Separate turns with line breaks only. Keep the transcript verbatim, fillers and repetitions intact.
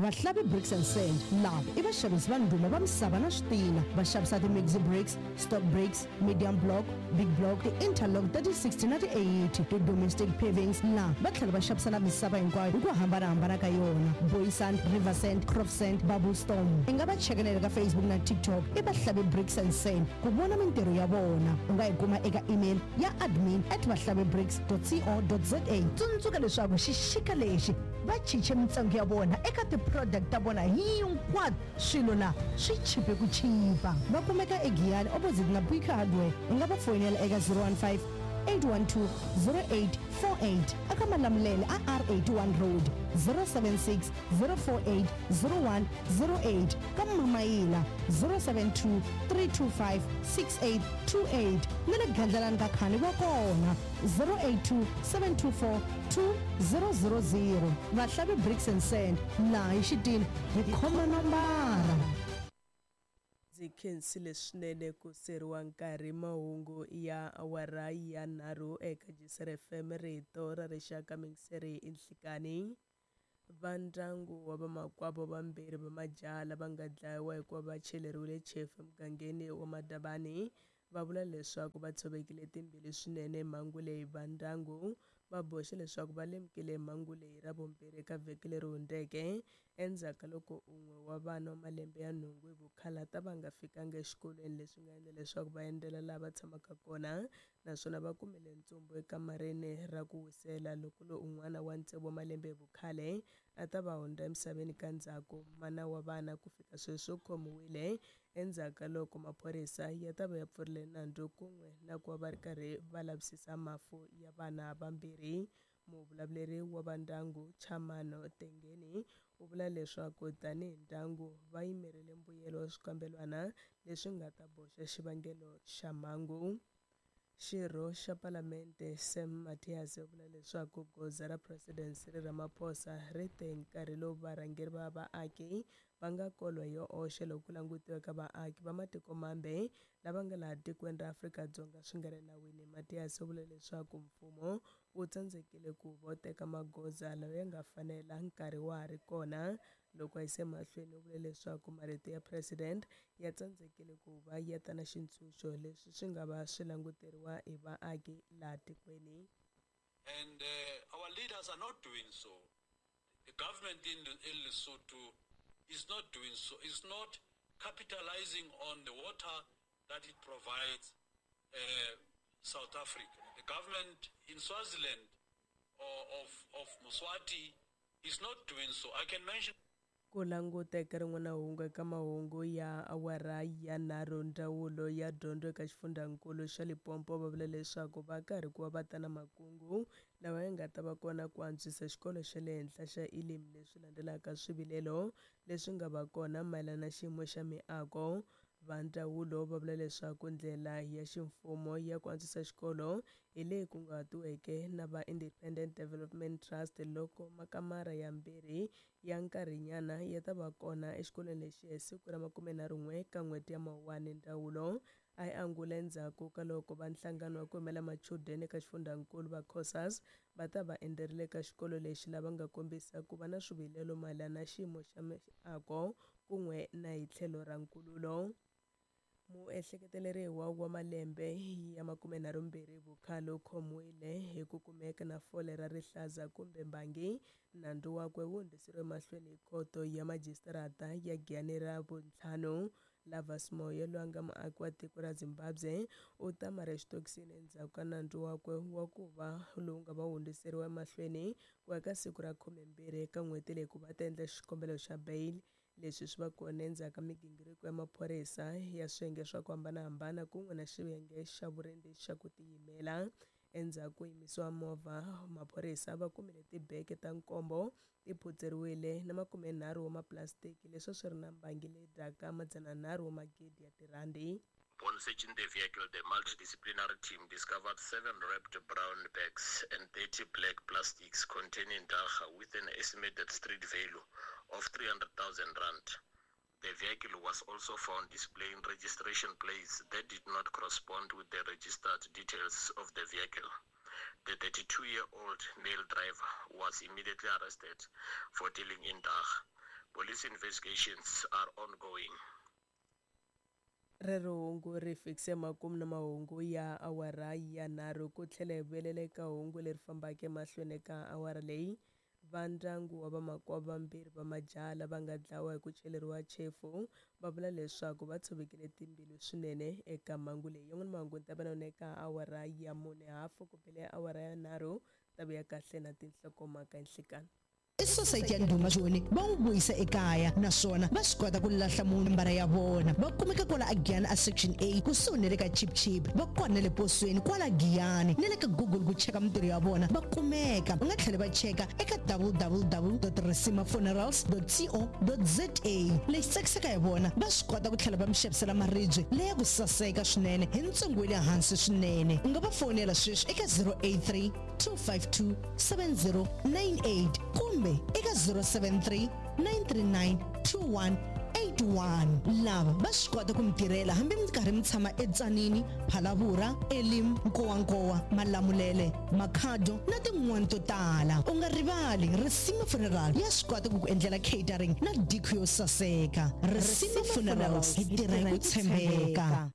Vahlavi Bricks and Sand lava i vaxavisi va ndhuma va misava na switina. Va xavisa ti-maxi bricks, stock bricks, medium block, big block, ti-interlock ta ti sixty na ti eighty, ti-domestic pavings. Laha va tlhela va xavisa na misava hinkwayo hi ku hambanahambana ka yona, Booysand, River Sand, Crop Sand, Bubble Storm. I nga va chekanela ka Facebook na TikTok, i Vahlavi Bricks and Sand, ku vona mintirho ya vona. U nga yi kuma eka email ya admin at vahlavibricks co za. Tsundzuka leswaku xixika lexi va cince mintsengo ya vona eka ti-product ta vona hinkwato. Swilo la swi chipe ku chipa. Va kumeka eGiyani, opposite na Buika Hardware. U nga va foyinela eka zero one five eight one two zero eight four eight. Aka Malamulele a R eighty-one Road, zero seven six zero four eight zero one zero eight. Ka Mamayila, zero seven two three two five six eight two eight. Na le Gandlalani ka Khani va kona, zero eight two seven two four two zero zero zero. Vahlavi Bricks and Sand, laha hi xitina hi khoma nombara.
Ndzi khensile swinene ku seriwa nkarhi. Mahungu ya awara ya nharhu eka J C R F M, rito ra rixaka. Mingiseri i nhlikani. Va ndyangu wa vamakwavo vambirhi va majaha lava nga dlayiwa hikuva va cheleriwile chefu emugangeni wa Madabani va vula leswaku va tshovekile timbilu swinene mhangu leyi. Va ndyangu va boxe leswaku va lemukile mhangu leyi ra vumbirhi eka vhiki leri hundzeke, endzhaku ka loko un'we wa vana wa malembe ya nhungu hi vukhala ta va nga fikanga exikolweni, leswi nga endla leswaku va endzela laha va tshamaka kona naswona va kumile ntsumbu ekamareni ra ku wisela, loko lo un'wana wa tsevu wa malembe hi vukhale a ta va hundza emisaveni ka ndzhaku. Mana wa vana ku fika sweswi u khomiwile endzhaku ka loko maphorisa ya ta va ya pfurile nandzu kun'we na ku va va ri karhi va lavisisa mafu ya vana vambirhi. Muvulavuleri wa va ndyangu, Chamano Tengeni, u vula leswaku tanihi ndyangu va yimerile mbuyelo wa swikambelwana leswi nga ta boxa xivangelo xa mhangu. Xirho xa Palamente Sam Mathias u vula leswaku goza ra President Cyril Ramaphosa ri te nkarhi lowu varhangeri va vaaki va nga kolwa hi oxe loko ku langutiwa ka vaaki va matiko mambe lava nga laha tikweni ra Afrika-Dzonga swi nga ri nawini. Mathias u vula leswaku mfumo wu tsandzekile ku va teka magoza lawa ya nga fanela nkarhi wa ha ri kona. Loko a yise mahlweni, u vule leswaku marito ya president ya tsandzekile ku va ya ta na xitshunxo leswi swi nga va swi languteriwa hi vaaki laha tikweni.
And uh, our leaders are not doing so. The government in, in Lesotho is not doing so, is not capitalizing on the water that it provides uh, South Africa. The government in Swaziland or of, of Mswati is not doing so. I can mention
Ku languta eka rin'wana hungu eka mahungu ya awara ya nharhu, ndzawulo ya dyondzo eka xifundzankulu xa Limpopo va vula leswaku va karhi ku va va ta na makungu lawa ya nga ta va kona ku antswisa xikolo xa le henhla xa Elim, leswi landzelaka swivilelo leswi nga va kona mayelana na xiyimo xa miako. Va ndzawulo va vula leswaku ndlela ya ximfumo ya ku antswisa xikolo hi leyi kunguhatiweke na va Independent Development Trust, loko makamara yambirhi ya nkarhinyana ya ta va kona exikolweni lexi hi siku ra makumenharhu n'we ka n'hweti ya Mawuwani. Ndzawulo a yi angula endzhaku ka loko va nhlangano wa ku yimela machudeni eka xifundzankulu va COSAS va ta va endzerile eka xikolo lexi, lava nga kombisa ku va na swivilelo mayelana na xiyimo xa miako kun'we na hi tlhelo ra nkululo. Muehleketeleriwa wa malembe ya makumenharhu mbirhi vukhale u khomiwile hi ku kumeka na fole ra rihlaza kumbe mbangi. Nandzu wakwe wu hundziseriwe mahlweni hi khoto ya majisitarata ya Giyani ra vuntlhanu. Lavas Moyo, loyi a nga muaki wa tiko ra Zimbabwe, u ta mara exitokisini endzhaku ka nandzu wakwe wa ku va lowu nga va hundziseriwa emahlweni ku ya ka siku ra khumembirhi eka n'hweti leyi ku va ta endla xikombelo xa bail. Leswi swi va kona endzhaku ka migingiriko ya maphorisa ya swiyenge swa ku hambanahambana kun'we na xiyenge xa vurindzi xa ku tiyimela. Endzhaku ko yimisiwa movha, maphorisa va kumile tibeke ta nkombo ti phutseriwile na makumenharhu wa mapulasitiki leswi a swi ri na mbangi leyi dyaka madzananharhu wa magidi ya tirhandi.
Upon searching the vehicle, the multidisciplinary team discovered seven wrapped brown bags and thirty black plastics containing dagga with an estimated street value of three hundred thousand rand. The vehicle was also found displaying registration plates that did not correspond with the registered details of the vehicle. The thirty-two-year-old male driver was immediately arrested for dealing in dagga. Police investigations are ongoing.
Rero hungu ri fikise makumu na mahungu ya awara ya nharhu ku tlhela hi vuyelela eka hungu leri fambaka emahlweni eka awara leyi. Va ndyangu wa vamakwavo vambirhi va majaha lava nga dlawa hi ku cheleriwa chefu va vula leswaku va tshovekile timbilu swinene eka mhangu leyi. Yan'wana mahungu ni ta va na yona eka awara ya mune hafu ku bile awara ya nharhu ta vuya kahle na tinhlokomhaka nhlikani.
I society ya ndhuma joni va n'wi vuyisa ekaya naswona va swi kota ku lahla munhu mbara ya vona. Va kumeka kwala a Giyani a section A kusuhi na le ka Chip Chip, va kona na le posweni kwala Giyani na le ka Google ku cheka mintirho ya vona va kumeka. U nga tlhela va cheka eka w w w dot risima funerals dot co dot za. Lexi tsakisaka hi vona va swi kota ku tlhela va mi xavisela maribye leya ku saseka swinene hi ntsengo wa le hansi swinene. U nga va fonela sweswi eka zero eight three two five two seven zero nine eight kumbe eka zero seven three nine three nine two one eight one. Lava va swi kota ku mi tirhela hambi mi karhi mi tshama eTsanini, Phalavura, Elim, Nkowankowa, Malamulele, Makhado na tin'wani to tala. U nga rivali Risima Funeral ya swi kota ku ku endlela catering na diko yo saseka. Risima Funerals, hi tirha hi ku tshembeka.